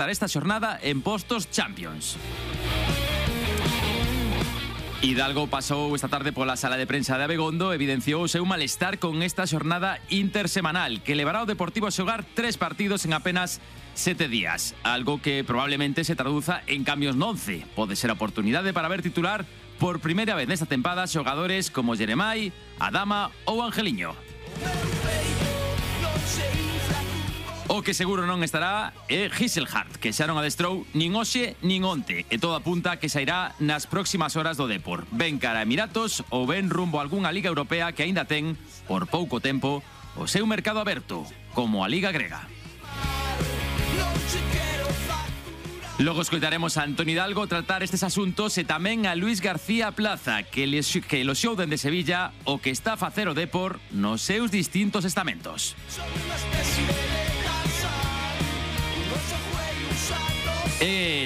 esta xornada en postos Champions. Hidalgo pasou esta tarde pola sala de prensa de Abegondo e evidenciou o seu malestar con esta xornada intersemanal que levará o Deportivo a xogar 3 partidos en apenas 7 días, algo que probablemente se traduza en cambios no 11. Pode ser a oportunidade para ver titular por primeira vez nesta tempada xogadores como Jeremai, Adama ou Angeliño. O que seguro non estará é Giselhardt, que xa non adestrou nin hoxe nin onte, e todo apunta que sairá nas próximas horas do Depor. Ben cara a Emiratos ou ben rumbo a algunha liga europea que aínda ten, por pouco tempo, o seu mercado aberto, como a Liga Grega. Logo escoitaremos a Antón Hidalgo tratar estes asuntos e tamén a Luis García Plaza, que eloxiou dende Sevilla o que está a facer o Depor nos seus distintos estamentos.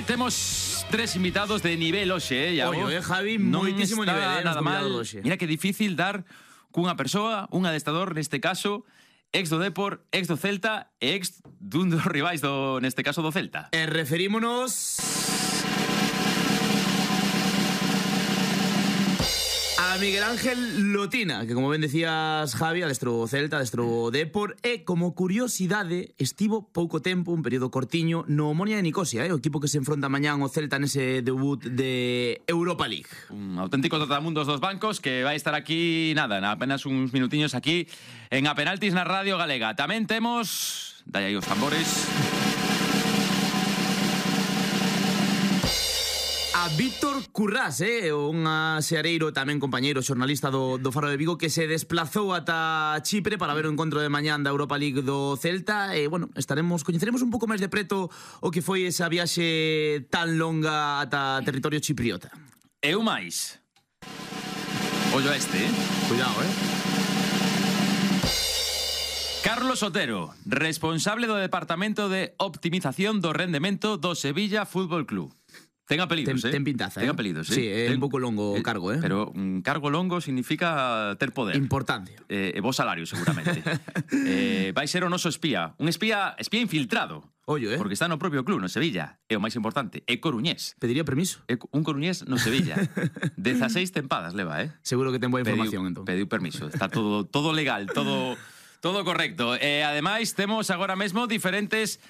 Temos 3 invitados de nivel hoxe, Iago. Javi, moitísimo nivel, nada mal. Mira que difícil dar cunha persoa, un adestador neste caso, ex do Depor, ex do Celta e ex dun dos rivais neste caso do Celta. Referímonos a Miguel Ángel Lotina, que como ben decías, Javi, adestrou o Celta, adestrou o Depor, e como curiosidade estivo pouco tempo, un período cortiño, no Omonia de Nicosia, o equipo que se enfronta mañán o Celta nese debut de Europa League. Un auténtico trotamundos dos bancos que vai estar aquí, nada, apenas uns minutiños aquí en A Penaltis na Radio Galega. Tamén temos, dai aí os tambores, a Víctor Currás, un seareiro tamén compañeiro xornalista do Faro de Vigo, que se desplazou ata Chipre para ver o encontro de mañán da Europa League do Celta. E, bueno, coñeceremos un pouco máis de preto o que foi esa viaxe tan longa ata territorio chipriota. E o máis, ollo este, Cuidado, Carlos Otero, responsable do Departamento de Optimización do Rendemento do Sevilla Fútbol Club. Ten apelidos, Ten pintaza, Ten apelidos, Sí, é un pouco longo o cargo, Pero un cargo longo significa ter poder. Importancia. E bo salario, seguramente. Vai ser o noso espía. Un espía infiltrado. Ollo, Porque está no propio club, no Sevilla. E o máis importante, é coruñés. Pediría permiso. Un coruñés no Sevilla. 16 tempadas leva, Seguro que ten boa información, entón. Pediu permiso. Está todo legal, todo correcto. E ademais temos agora mesmo diferentes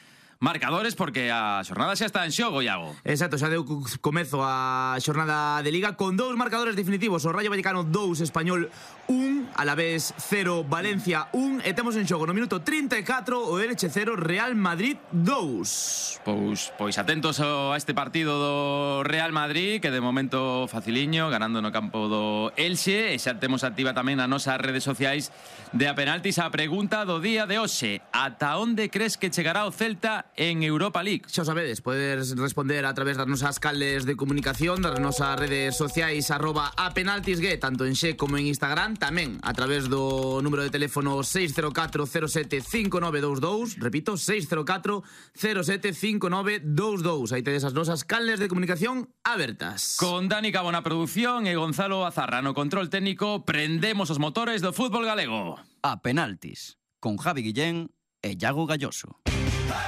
marcadores porque a xornada xa está en xogo, Iago. Exacto, xa deu comezo a xornada de Liga con 2 marcadores definitivos. O Rayo Vallecano 2, Español 1, Alavés 0, Valencia 1. E temos en xogo no minuto 34 o Elche 0, Real Madrid 2. Pois atentos a este partido do Real Madrid, que de momento faciliño, ganando no campo do Elxe. E xa temos activa tamén nas nosas redes sociais de A Penaltis a pregunta do día de hoxe: ata onde crees que chegará o Celta en Europa League? Xa o sabedes, podes responder a través das nosas canles de comunicación, das nosas redes sociais @apenaltisgue, tanto en Xe como en Instagram, tamén a través do número de teléfono 604075922, repito, 604075922. Aí tedes as nosas canles de comunicación abertas. Con Dani Cabo na produción e Gonzalo Azarra no control técnico, prendemos os motores do fútbol galego. A Penaltis, con Javi Guillén e Iago Galloso.